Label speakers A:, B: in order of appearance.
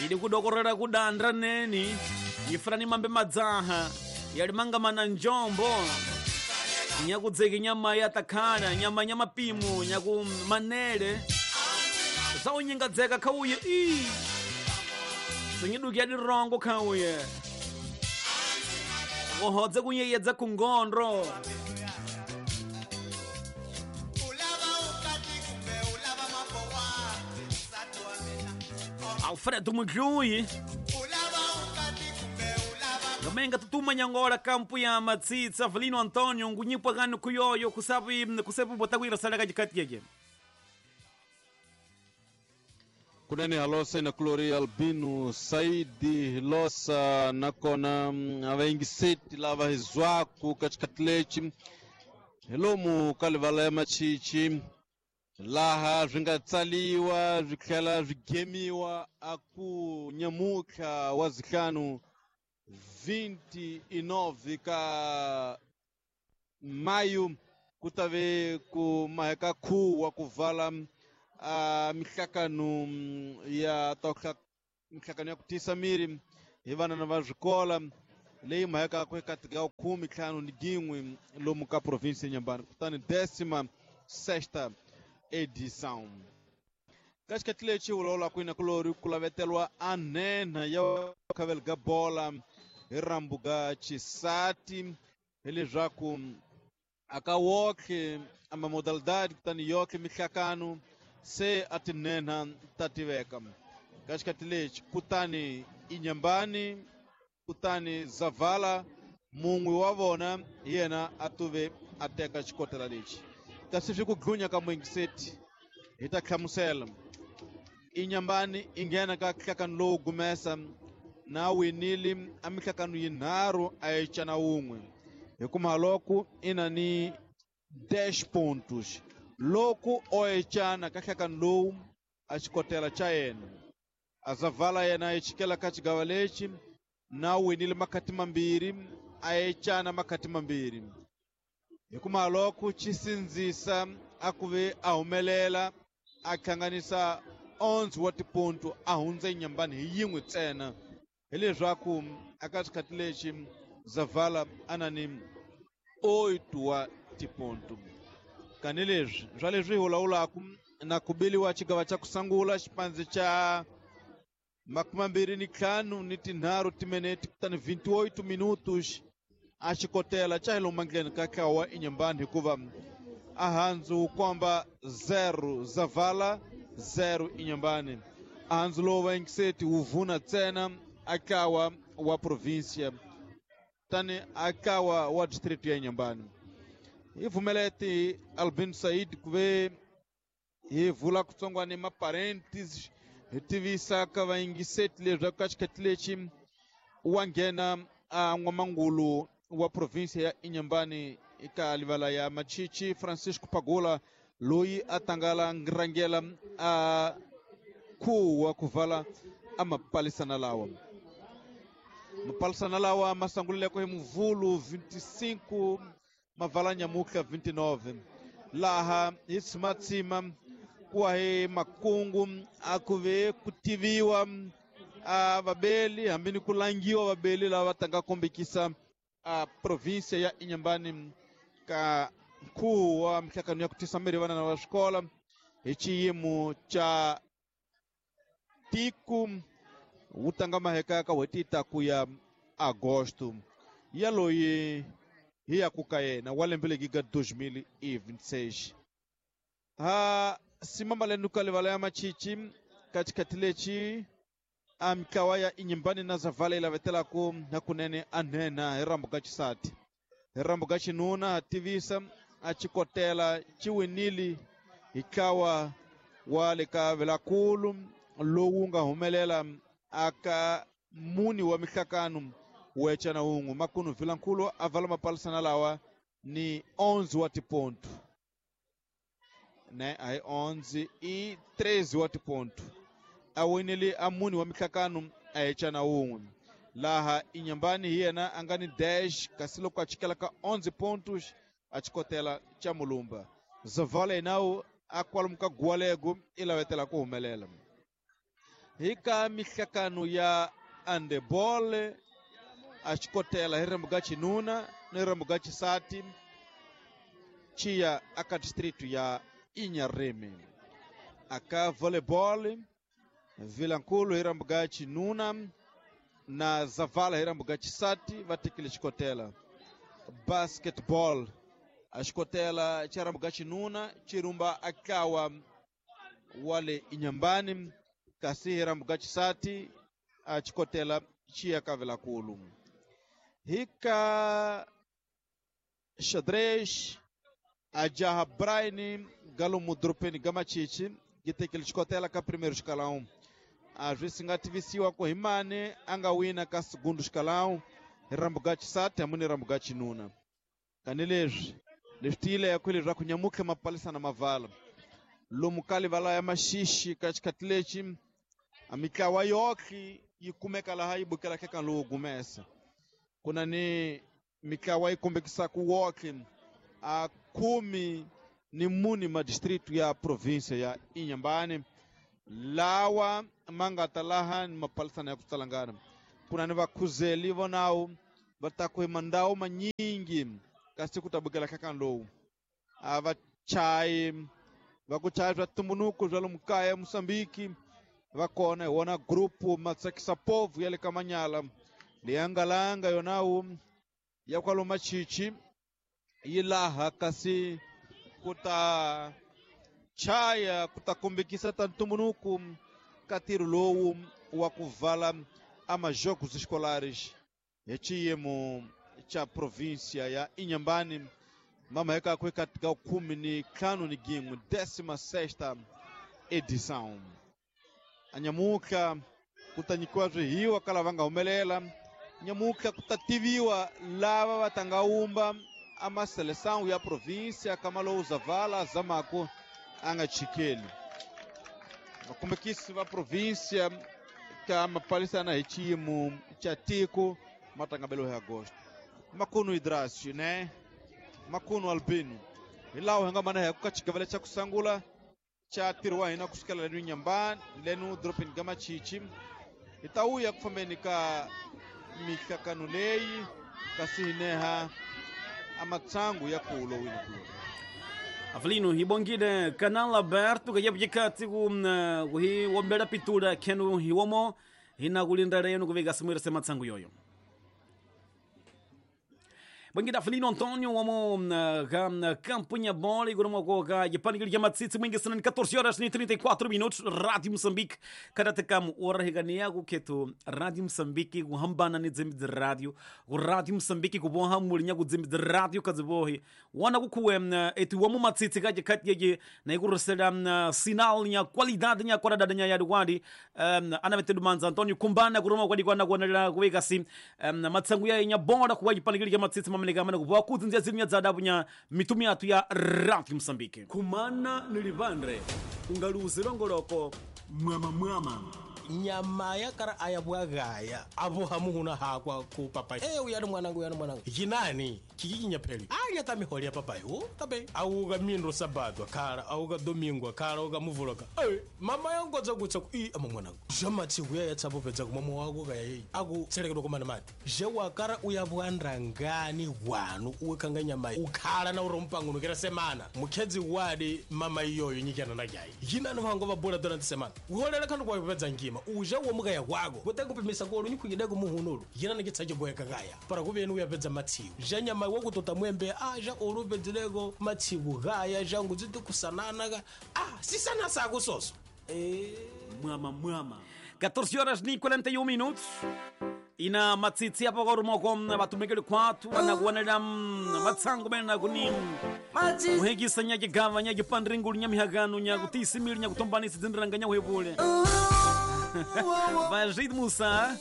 A: Ili kudokorera kudandra neni ifrani mambe madzaha yalimanga na njombo nyakudzeki nyama ya takhana nyama nya mapimu nyaku manele zawunyingadzeka khauye i sinyiduki ya dirongo khauye kuhodze kunyeyedza kungondro. Alfredo Mudlui Gamenga tutuma nyangola kampu ya matsitsa Avelino Antonio ngunyipwa gano kuyoyo kusapi kusepu botakwira sala kajikati yake.
B: Kunene alosa ina Clori Albino Saidi losa nakona avaingiseti lava hizwaku katikati lechi hilomu kalivala ya machichi laha swi nga tsaliwa swi tlhela swi gemiwa aku nyamutlha wa zihlanu 29 ka mayu ku ta ve ku maheka khuwa ku vala mihlakano ya ta mihlakano ya ku tiyisa miri hi vanana va swikola leyi mahekaka eka tigawu 51 lomu ka provinsi ya Inhambane kutani 16ª edição. Katikati lexi vulavulaka ina kulori ku lavetelwa a nhenha ya khavel ga bola hi rambu ga xisati hileswaku aka wokhe ama modalidade kutani yokhe mihlakano se a tinhenha ta tiveka. Katikati lexi kutani Inhambane kutani Zavala mun'we wa vona yena a tuve a teka xikotela lexi. Kasi swi ku dlunya ka muingiseti hi ta hlamusela. Inhambane i nghena ka nhlakano lowu gumesa na winile a mihlakano yinharhu a yi cana wun'we hikuva loko i na ni 10 pontos loko o ecana ka nhlakano lowu a xikotela xa yena. A Zavala yena yi chikela ka xigava lexi na winile makhati mambirhi a ecana makhati mambirhi hikuva loko xi sindzisa a ku ve a humelela a hlanganisa 11 wa tiponto a hundza Inhambane hi yin'we ntsena hileswaku aka xikhathi lexi Zavala a na ni 8 wa tiponto. Kani leswi swa leswi hi vulavulaka na ku biliwa xigava xa ku sungula xipandzi xa 25 timinete kutani 28 minutos a xikotela xa hi lomu ndleni ka ntlawa wa Inhambane hikuva a handzu wu komba 0 Zavala 0 Inhambane. A handzu lowu va yingiseti wu vuna ntsena a ntlawa wa província tani a ntlawa wa district ya Inhambane. Hi pfumeleti Albino Said ku ve hi vula kutsongwana maparentes hi tivisa ka vayingiseti leswaku ka xikhathi lexi wa nghena a n'wamangulu wa província ya Inhambane eka livala ya Machichi Francisco Pagula loyi a tangala rangela a khuwa ku vala a mapalisana lawa. Mapalisana lawa ma sungulileko hi Muvhulu 25 mavala nyamuhla 29 laha hi tshimatsima ku hi makungu a ku ve ku tiviwa a vabeli hambi ni ku langiwa vabeli lava tanga kombekisa a província ya Inhambane ka nkhuvo wa mihlakano ya ku tisa miri vanana va swikola hi xiyimo xa tiko wu tanga maheka ka n'hweti ta ku ya Agosto ya loyi hi ya ku ka yena wa lembe legi ga 2026. Ha simambalenu ka livala ya Machichi ka xikhathi lexi a mitlawa ya Inhambane na Zavala yi lavetelaku hakunene a nhenha hi rambu ka xisati. Hi rambu ka xinuna ha tivisa a xikotela xi winile hi ntlawa wa le ka Velakulu lowu nga humelela aka muni wa mihlakano wecana wun'we. Makunu Vilankulu a vala mapalisana lawa ni 11 wa tiponto ne a hi 11 i 13 wa tiponto a winile a muni wa mihlakano a hecana wun'we. Laha Inhambane hi yena a nga ni 10 kasi loko a chikela ka 11 pontos a xikotela xa Mulumba. Zavala yenawu a kwalomu ka Gualego i lavetela ku humelela. Hi ka mihlakano ya handeball a xikotela hi ririmi ga xinuna ni ririmi ga xisati chiya aka district ya Inharrime. Aka volleyball Vilankulu hi ririmi ga xinuna na Zavala hi ririmi ga xisati va tekile xikotela. Basketball a xikotela xa ririmi ga xinuna xi rumba akawa wale Inhambane, kasi hi ririmi ga xisati a xikotela xi ya ka Vilankulu. Hi ka xadrez a jaha Brian galomu doropeni ga Machichi yi tekile xikotela ka primeiro escalão. A swi si nga tivisiwa ku hi mani a nga wina ka segundo escalão hi ririmi ga xisati hambi ni ririmi ga xinuna. Kani leswi leswi tiyileko leswaku nyamutlha mapalisana mavala lomu ka livala ya Maxixi ka xikhathi lexi a mitlawa yoxe yi kumeka laha yi bukelaka eka lowu gumesa. Ku na ni mitlawa yi kombekisaka woxe a 14 madistritu ya província ya Inhambane lawa ma nga ta laha ni mapalisana ya ku tsalangana. Ku na ni vakhuzeli vonawu va ta ku hi mandhawu manyingi kasi ku ta bukela hlakani lowu. A va chayi va ku chaya swa ntumbuluko swa lomu kaya Mozambique va kona hi wona grupu Matsakisa Povo ya le ka Manyala leyi nga langa yonawu ya kwalomu Machichi yi laha kasi ku ta chaya ku ta kombekisa ta ntumbuluko ka ntirho lowu wa ku vala a majogos escolares hi xiyimo xa província ya Inhambane mamaheka ku eka ka 15 16ª edição. Anyamuka ku ta nyikiwa swihiwa ka lava nga humelela. Nyamuka ku ta tiviwa lava va ta nga wumba a maseleção ya província ka malowu Zavala zamako a nga chikeli. Vakombekisi va província ka mapalisana hi xiyimo xa tiko matangabelo hi agosto. Makuno Idrasio, né? Makuno Albino. Hi laha hi nga mana hi ku ka xigavele xa ku sungula xa ntirho wa hina kusukela lenu Inhambane lenu doropeni ga Machichi. Hi ta wuya ku fambeni ka mihlakano leyi kasi hi neha a matsangu ya kulo wini kulo.
A: Avelino, ibongile canal aberto que yabjikati ku hi wombela pitura kenu hiwomo hina kulinda reno kuvika simwira se matsangu yoyo. Bongida Avelino Antônio womo ga campunha bola e grumo ko ga yapanikili ya matsitsi mwingi sana 14 horas e 34 minutos. Rádio Moçambique karatakamu ora higania ku ketu Rádio Moçambique ku hambana ni dzimbi dzi rádio ku Rádio Moçambique ku boha mulinya ku dzimbi dzi rádio kadzibohi wana kukuwe eti womo matsitsi kaje katyeje na ikurusela sinal nya qualidade nya qualidade nya yadukwadi anavetedu manza Antônio kumbana kuroma kwadi kwana kuonela kuweka si matsangu ya nya bola ku yapanikili ya matsitsi mameleka mana kuboha kudzinzia zinya dzadabu nya mitumi yatu ya Rádio Moçambique. Kumana nilivandre ungaluzi longoloko mwama mwama
C: nyama ya kara ayabwagaya abo hamuhuna hakwa ku papai uyani mwanangu uyani mwanangu jinani kikikinya pheli alya tamiholi ya papai o tabe auka mindo sabado kara auka domingo kara auka muvuloka mama yangodza kutsa ku i ama mwanangu zvamatsi kuya yatsapo pedza kumama wako kaya yeyi aku tselekedwa kumana mati zhewakara uyabwanda ngani wanu uwekanga nyama ukhala na uri mupangunukira semana mukhedzi wadi mama iyoyo nyikana na jayi yinani vango vabola dona semana uholela khandu kwayo pedza ngima uja womukaya kwako kutekupimisa kolu nyikhwikideko muhunulu yinani kitsachigoyeka kaya para kuveni uyapedza matsiku zha nyama wakutota mwembe zha olu upedzileko matsiku kaya zhangu dzitikusanana ka sisana sako soso
A: mwama mwama 14 horas e 41 minutos e na matsitsi apo korumoko vatumikile khwathu vanakuonela matsangu mene kuni muhekisa nyakigava nyakipandringulu nyamihakano nyakutiisimili nyakutombanisa dzindiranga nyakuhepule Vajid Musa.